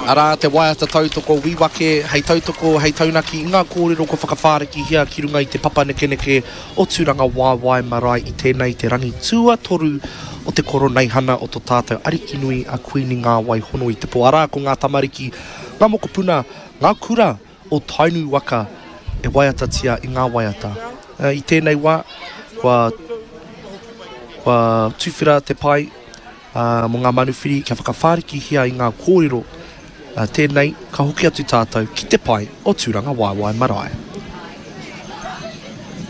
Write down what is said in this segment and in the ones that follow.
Arā te waiata tautoko Wīwake hei tautoko, hei taunaki i ngā kōrero kua whakawhārikihia ki runga i te papa nekeneke o Tūrangawaewae Marae i tēnei te rangi tuatoru o te Koroneihana o to tātou Arikinui a Kuini Ngāwai Hono i te Pō. Arā ko ngā tamariki, ngā mokopuna, ngā kura o Tainui waka e waiatatia i ngā waiata. I tēnei wā, kua, kua tuwhera te pae mō ngā manuwhiri kia whakawhārikihia i ngā kōrero. Tēnei, ka hoki atu tātou ki te pae o Tūrangawaewae Marae.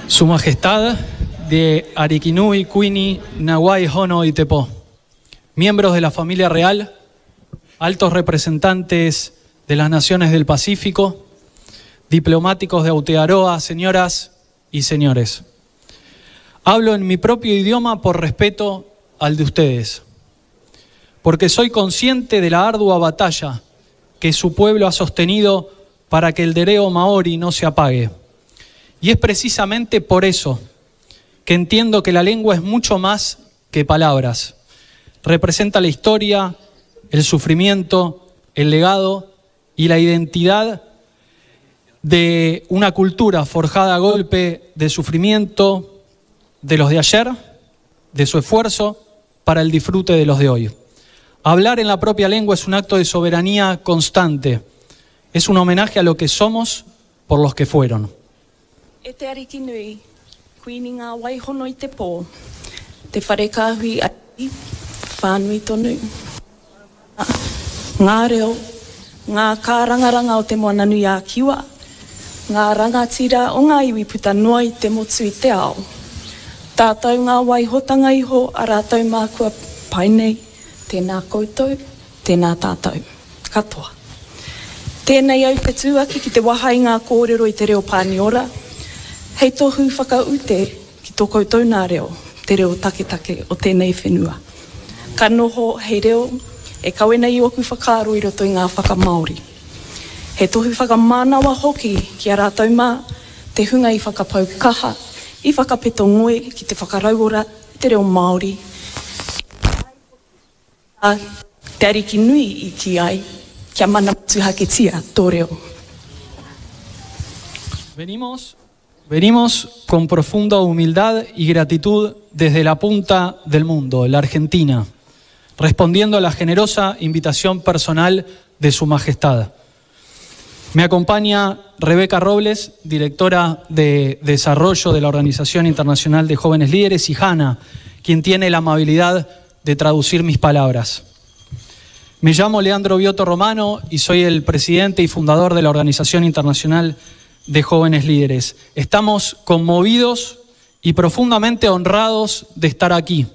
Su Majestad de Arikinui Kuini Nawai Hono i te Pō, miembros de la familia real, altos representantes de las naciones del Pacífico, diplomáticos de Aotearoa, señoras y señores. Hablo en mi propio idioma por respeto al de ustedes, porque soy consciente de la ardua batalla que su pueblo ha sostenido para que el dereo maori no se apague. Y es precisamente por eso que entiendo que la lengua es mucho más que palabras. Representa la historia, el sufrimiento, el legado y la identidad de una cultura forjada a golpe de sufrimiento de los de ayer, de su esfuerzo para el disfrute de los de hoy. Hablar en la propia lengua es un acto de soberanía constante. Es un homenaje a lo que somos por los que fueron. E te Ariki nui, Kuini ngā wai hono i te pō, te whare kāhui ariki, whānui tonu, ngā reo, ngā kārangaranga o Te Moananui-a-Kiwa, ngā rangatira o ngā iwi puta noa i te motu i te ao. Tātou ngā waihotanga iho a rātou mā kua pai nei, tēnā koutou, tēnā tātou. Katoa. Tēnei au te tū ake ki te waha i ngā kōrero i te reo Pāniora, hei tohu whakaute ki tō koutou nā reo, te reo taketake o tēnei whenua. Ka noho hei reo e kawe nei i ōku whakaaro i roto i ngā whakamāori. He tohu whakamānawa hoki ki a rātou mā, te hunga i whakapau kaha, i whakapeto ngoi ki te whakarauora i te reo Māori, A Te Ariki nui i kī ai, kia mana motuhaketia tō reo. Venimos, venimos con profunda humildad y gratitud desde la punta del mundo, la Argentina, respondiendo a la generosa invitación personal de Su Majestad. Me acompaña Rebeca Robles, directora de Desarrollo de la Organización Internacional de Jóvenes Líderes, y Hanna, quien tiene la amabilidad de traducir mis palabras. Me llamo Leandro Bioto Romano y soy el presidente y fundador de la Organización Internacional de Jóvenes Líderes. Estamos conmovidos y profundamente honrados de estar aquí,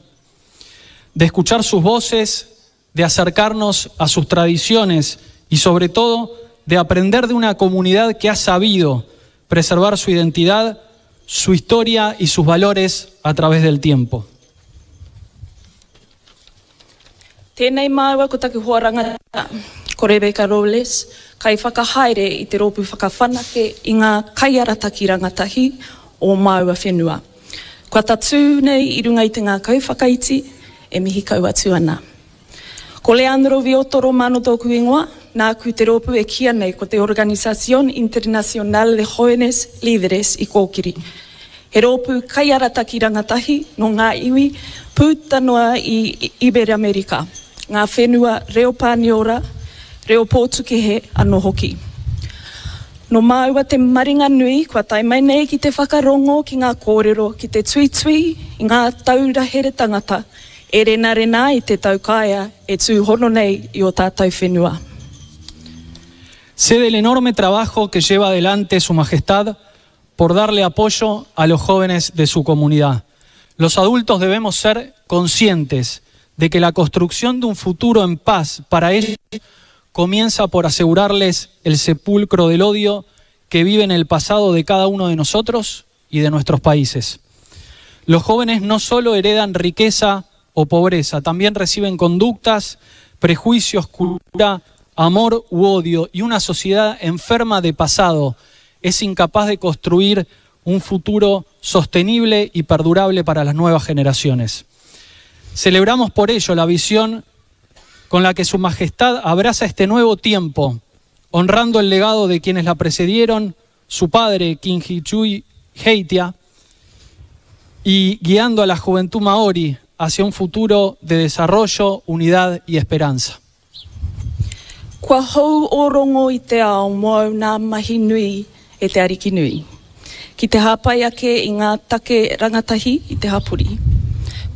de escuchar sus voces, de acercarnos a sus tradiciones y sobre todo de aprender de una comunidad que ha sabido preservar su identidad, su historia y sus valores a través del tiempo. Tēnei māua ko taku hoa rangatira, ko Rebecca Robles, kaiwhakahaere i te rōpū whakawhanake i ngā kaiarataki rangatahi o māua whenua. Kua tatū nei i runga i te ngākau whakaiti e mihi kau atu ana. Ko Leandro Vioto Romano tōku ingoa, nāku te rōpū e kīia nei ko te Organización Internacional de Jóvenes Líderes i kōkiri. He rōpū kaiarataki rangatahi nō ngā iwi puta noa i Iberamērika, ngā whenua reo Pāniora, reo Pōtukehe anō hoki. Nō māua te maringa nui kua tae mai nei ki te whakarongo ki ngā kōrero, ki te tuitui i ngā taura here tangata e renarena ai te taukaea e tūhono nei i ō tātou whenua. Sé del enorme trabajo que lleva adelante Su Majestad por darle apoyo a los jóvenes de su comunidad. Los adultos debemos ser conscientes de que la construcción de un futuro en paz para ellos comienza por asegurarles el sepulcro del odio que vive en el pasado de cada uno de nosotros y de nuestros países. Los jóvenes no solo heredan riqueza o pobreza, también reciben conductas, prejuicios, cultura, amor u odio y una sociedad enferma de pasado es incapaz de construir un futuro sostenible y perdurable para las nuevas generaciones. Celebramos por ello la visión con la que Su Majestad abraza este nuevo tiempo, honrando el legado de quienes la precedieron, su padre, Kingi Chui Heitia, y guiando a la juventud maori hacia un futuro de desarrollo, unidad y esperanza. Kua hou ō rongo i te ao mōu nā mahi nui e te Ariki nui, ki te hāpai ake i ngā take rangatahi i te hapori.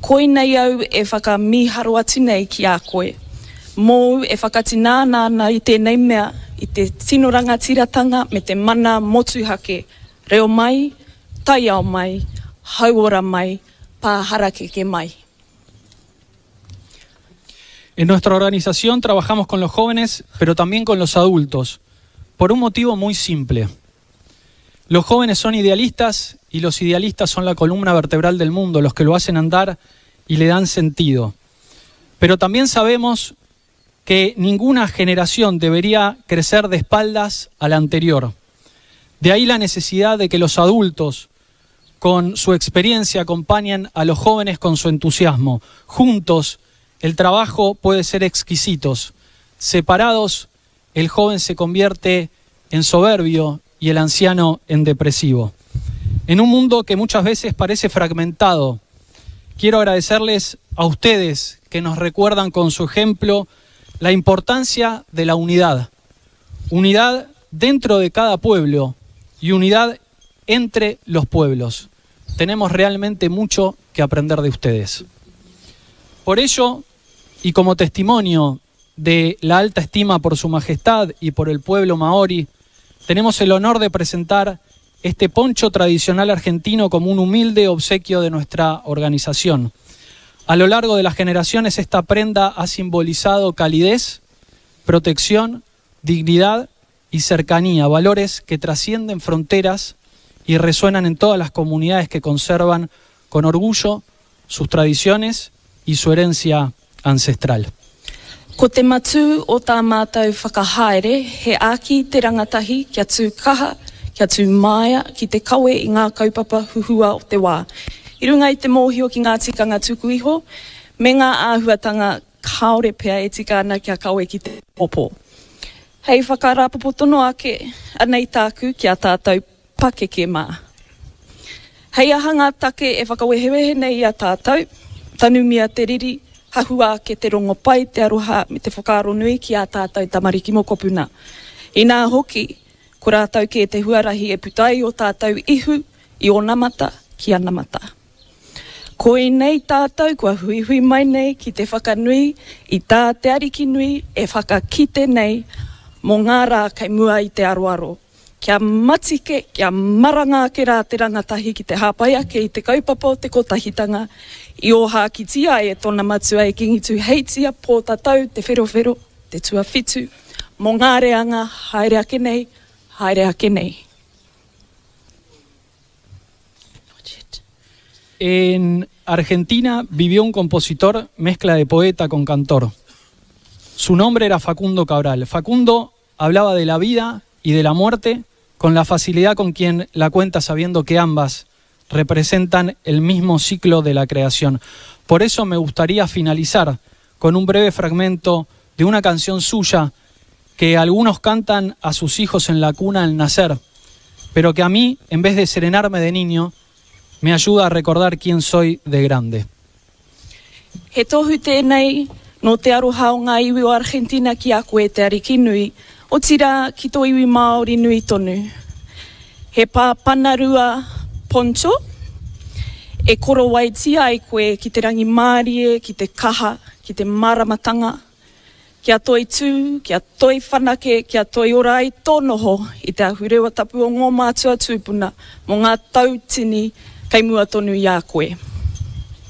Koinei au e whakamīharo atu nei ki a koe, mōu e whakatināna ana i tēnei mea, i te tino rangatiratanga me te mana motuhake, reo mai, taiao mai, hauora mai, pā harakeke mai. En nuestra organización trabajamos con los jóvenes, pero también con los adultos, por un motivo muy simple. Los jóvenes son idealistas y los idealistas son la columna vertebral del mundo, los que lo hacen andar y le dan sentido. Pero también sabemos que ninguna generación debería crecer de espaldas a la anterior. De ahí la necesidad de que los adultos, con su experiencia, acompañen a los jóvenes con su entusiasmo. Juntos, el trabajo puede ser exquisito. Separados, el joven se convierte en soberbio y el anciano en depresivo. En un mundo que muchas veces parece fragmentado, quiero agradecerles a ustedes que nos recuerdan con su ejemplo la importancia de la unidad. Unidad dentro de cada pueblo y unidad entre los pueblos. Tenemos realmente mucho que aprender de ustedes. Por ello, y como testimonio de la alta estima por su majestad y por el pueblo maori, tenemos el honor de presentar este poncho tradicional argentino como un humilde obsequio de nuestra organización. A lo largo de las generaciones esta prenda ha simbolizado calidez, protección, dignidad y cercanía, valores que trascienden fronteras y resuenan en todas las comunidades que conservan con orgullo sus tradiciones y su herencia ancestral. Ko te matū o tā mātou whakahaere he āki i te rangatahi kia tū kaha, kia tū māia ki te kawe i ngā kaupapa huhua o te wā, i runga i te mōhio ki ngā tikanga tuku iho me ngā āhuatanga kāore pea e tika ana kia kawe ki te pōpō. Hei whakarāpopotono ake, anei tāku ki a tātou pakeke mā. Hei aha ngā take e whakawehewehe nei i a tātou, tanumia te riri, hahua ake te rongopai, te aroha me te whakaaro nui ki ā tātou tamariki mokopuna. Inā hoki, ko rātou kē te huarahi e puta ai ō tātou ihu i onamata ki anamata. Koinei tātou kua huihui mai nei ki te whakanui i tā te Arikinui e whakakite nei mō ngā rā kei mua i te aroaro. Kia matike, kia maranga ake rā te rangatahi ki te hāpai ake i te kaupapa o te kotahitanga i ōhākitia ai e tōna matua e Kingi Tūheitia Pōtatau Te Wherowhero te tuawhitu mō ngā reanga haere ake nei, haere ake nei. En Argentina vivió un compositor mezcla de poeta con cantor. Su nombre era Facundo Cabral. Facundo hablaba de la vida y de la muerte con la facilidad con quien la cuenta sabiendo que ambas representan el mismo ciclo de la creación. Por eso me gustaría finalizar con un breve fragmento de una canción suya que algunos cantan a sus hijos en la cuna al nacer, pero que a mí, en vez de serenarme de niño, me ayuda a recordar quién soy de grande. He tohu tēnei nō te aroha o ngā iwi o Argentina ki a koe te Ariki nui, otirā ki tō iwi Māori nui tonu. He pā panarua poncho e korowaitia ai koe ki te rangimārie, ki te kaha, ki te māramatanga, kia toitū, kia toi whanake, kia toi ora ai tō noho i te ahurewa tapu o ngō mātua tūpuna mō ngā tau tini kei mua tonu i a koe.